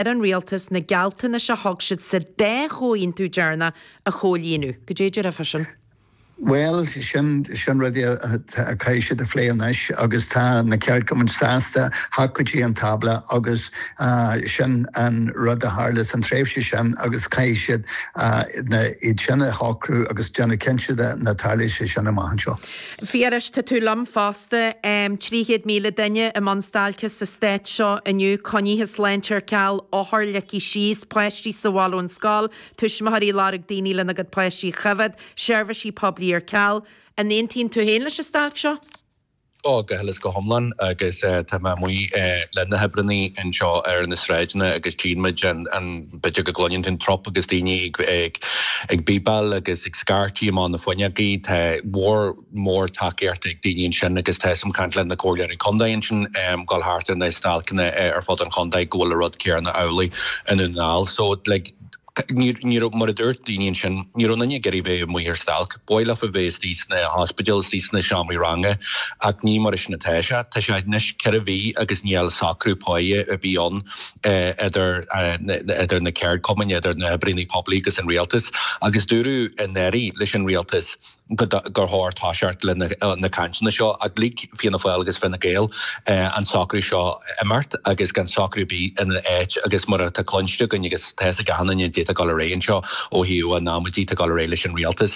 Ar an rialtas na gealltanais a thug siad sa dá chomhaontú deireanach a chomhlíonadh. Goidé a déarfá fá sin? Bhuel, sin, sin rudaí a chaithfidh siad a phlé anois agus tá na ceardchumainn sásta theacht go dtí an tábla agus sin an rud a tharla san tréimhse sin agus caithfidh siad na, iad sin a shocrú agus déanamh cinnte de nach dtarlóidh sé sin amach anseo. Phiarais, tá tú liom fosta. 300,000 duine i mbun stailce sa stát seo inniu, coinnithe sláinte ar ceal, othair ligthe síos, páistí sa bhaile ón scoil, tuismitheoirí ag lorg daoine lena gcuid páistí a choimhéad, seirbhísí poiblí ar ceal. An aontaíonn tú féin leis an stailc seo? Ó, go huile is go hiomlán agus tá mé amuigh le na hoibreannaí anseo ar na sráideanna agus tchíonn muid an, b'fhéidir go gcluineann tú an trup agus daoine ag ag bíbeáil agus ag scairtigh amach na fuinneogaí. Tá mór mór tacaíocht ag daoine ansin agus tá 'fhios a'm caint le na comhairleoirí contae ansin dul thart ar na stailceanna ar fud an chontae go bhfuil an rud céanna amhlaidh i nDún na nGall. So like Ní raibh, mar a dúirt daoine ansin, ní raibh aon duine ag iarraidh bheith amuigh ar stailc. Ba mhaith leofa bheith istigh sna hospidéil, istigh sna seomraí ranga ach ní mar sin atá sé. Tá sé anois 4 mhí agus níl socrú páighe ar bith ann idir idir na ceardchumainn, idir na hoibríonnaí poiblí agus an rialtas agus dúradh anuraidh leis an rialtas gur chóir toiseacht le na cainteanna seo ach lig Fianna Fáil agus Fine Gael an socrú seo imeacht agus gan socrú ar bith ina áit agus mar atá cluinste againn agus tá fhios ag achan duine goidé atá ag dul ar aghaidh anseo ó thaobh an amaidí atá ag dul ar aghaidh leis an rialtas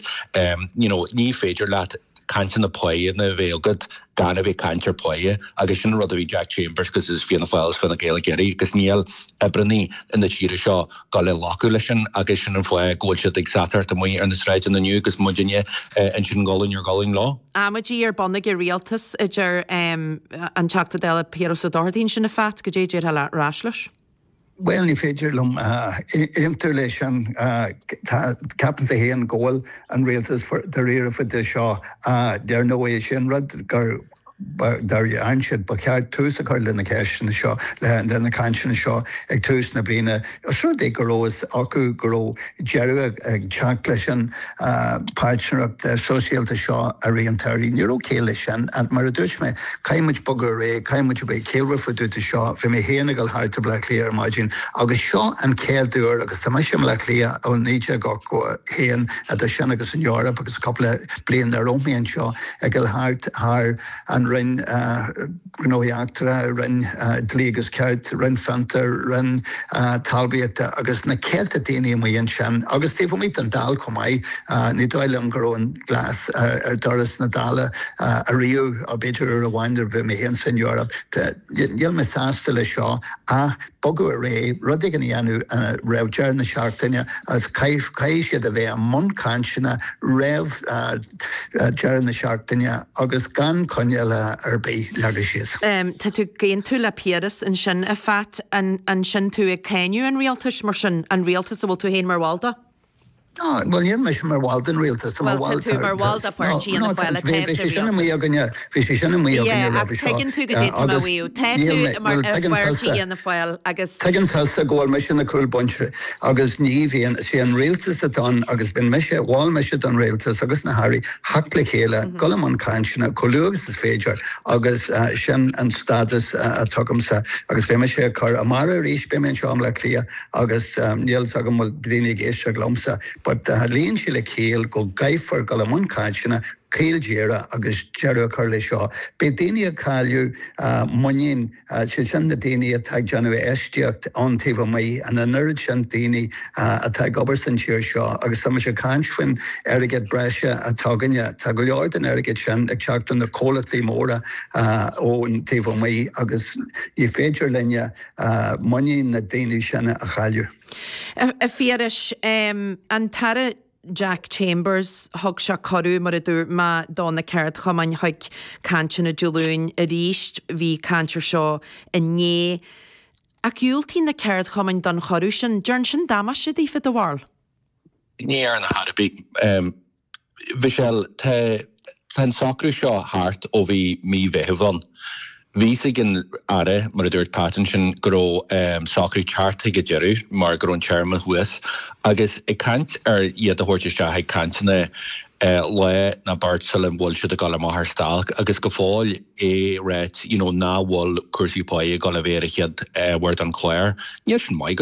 you know ní féidir leat cainteanna páigheanna a bheith agat gan a bheith ag caint ar pháighe agus sin an rud a bhí Jack Chambers agus Fianna Fáil agus Fine Gael ag iarraidh agus níl oibreannaí na tíre seo dul a ghlacadh leis sin agus sin an fáth go bhfuil siad ag seasamh amuigh ar na sráideanna inniu agus muidinne ansin gualainn ar ghualainn leo. Amaidí ar bun ag an rialtas, a deir an Teachta Dála Piaras Ó Dochartaigh ansin, a Phat, goidé a déarfá ar ais leis? Bhuel, ní féidir liom aontú leis sin. Ceapaimse féin go bhfuil an rialtas dáiríre fá dtaobh de seo. Dar ndóigh, is é an rud gur dhearn siad, ba cheart tús a chur le na ceisteanna seo, le na cainteanna seo ag tús na bliana. Os rud é go raibh fhios acu go raibh deireadh ag teacht leis an páirtnéireacht sóisialta seo i rith an tsamhraidh, ní raibh ciall leis sin. Mar a dúirt mé, caithfidh muid bogadh ar aghaidh, caithfidh muid a bheith ciallmhar fá dtaobh de seo. Bhí mé féin ag dul thart i Bleá Cliath ar maidin agus seo an chéad uair, agus tá mise i mBleá Cliath ó 1981, idir sin agus an Eoraip agus cúpla bliain ar roimh mé anseo, ag dul thart thar an Roinn Gnóthaí Eachtracha, Roinn Dlí agus Cirt, Roinn Fiontar, Roinn Talmhaíochta agus na céadta daoine amuigh ansin agus taobh amuigh den Dáil chomh maith. Ní dóigh liom go raibh an glas ar doras na Dála ariamh, b'fhéidir uair amháin nuair a bhí mé féin san Eoraip. Níl mé sásta leis seo ach bogadh ar aghaidh, rud éigin a dhéanamh roimh deireadh na seachtaine agus caithfidh siad a bheith i mbun cainteanna roimh deireadh na seachtaine agus gan coinníollacha ar bith leagtha síos. Tá tú ag aontú le Piaras ansin, a Phat. An sin tú ag cáineadh an rialtais mar sin, an rialtas a bhfuil tú féin mar bhall de? No, bhuel níl mise mar bhall den rialtas, tá mar bhall Bhuel, tá tú mar bhall de pháirtí Fhianna Fáil atá sa rialtas. Sin amuigh againne, bhí sé sin amuigh againne Yeah, ach roimhe seo. tuigeann tú goidé tá mé a mhaíomh. Tá tú mar pháirtí Fhianna Fáil agus. Tuigeann tusa go bhfuil mise ina cúl bainte agus ní bhíonn, is é an rialtas atá ann agus bíonn mise, mhol mise don rialtas agus na hairí theacht le chéile, dul i mbun cainteanna chomh luath agus is féidir agus sin an stádas atá agamsa agus beidh mise ag cur amárach arís, beidh mé anseo i mBleá Cliath Agus níl 's agam bhfuil daoine ag éisteacht liomsa, but luíonn sé le ciall go gcaithfear dul i mbun cainteanna caol díreach agus deireadh a chur leis seo. Beidh daoine ag cailleadh muinín, sé sin na daoine atá ag déanamh infheistíocht ann taobh amuigh, an an oiread sin daoine atá ag obair san tír seo agus tá muid ag caint faoin airgead breise atá againne, tá go leor den airgead sin ag teacht ó na comhlachtaí móra ón taobh amuigh agus ní féidir linne muinín na daoine sin a chailleadh. A Phiarais, an tAire Jack Chambers, thug sé cuireadh, mar a dúirt mé, do na ceardchumainn chuig cainteanna Dé Luain arís. Bhí caint ar seo inné. Ach dhiúltaigh na ceardchumainn don chuireadh sin. Déarfainn sin damáiste daofa, do bharúil? Ní dhearna ar chor ar bith. Michelle, tá an socrú seo thart ó bhí mí Mheithimh ann. Bhí fhios ag an Aire, mar a dúirt Pat ansin, go raibh socrú teacht chuig a deireadh mar go raibh an téarma thuas. Agus ag caint ar iad a thabhairt isteach ag cainteanna. Lá nó beirt sula bhfuil siad ag dul amach ar stailc agus go fóill é ráit you know nach bhfuil cúrsaí páí ag dul a bheith ar an chéad bhord an chláir. Níl sin maith go.